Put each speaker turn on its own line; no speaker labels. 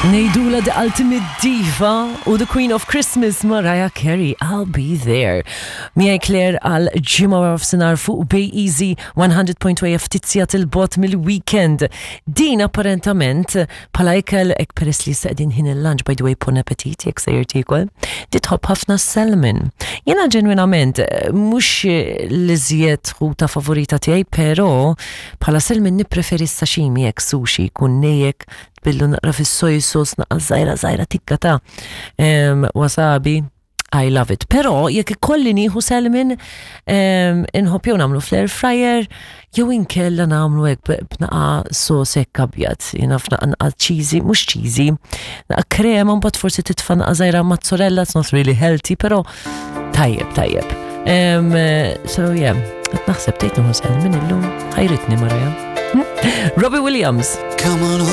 Ngħidulha the ultimate diva u the queen of Christmas Mariah Carey, I'll be there. Miegħi Claire għal ġimgħa wara f'sinar fuq Bay Easy 100.2 ftit sigħat il-bot mill-weekend. Din apparentament bħala ikel hekk peress li issa qegħdin ħin il-lunch by the way bon appetit jekk sejjer tiekol, di tħobb ħafna salmon. Jiena ġenwinament mhux l-iżjed ħuta favorita tiegħi, però bħala salmon nippreferi s-sashimi hekk sushi jkun nejjek tbillu naqra fis-soy sauce naqra żgħira żgħira tikka ta' wasabi. I love it. Però jekk ikolli nieħu salmon inħobb jew nagħmlu fl-air fryer jew inkella nagħmlu hekk b'naqa sos hekk abjad. Jiena f'naqa naqa cheesy, mhux cheesy, naqa krema mbagħad forsi titfa' naqa żgħira mozzarella, it's not really healthy, però tajjeb tajjeb. So yeah, qed naħseb tgħid nieħu salmon illum ħajritni Maria. Robbie Williams.
Come on.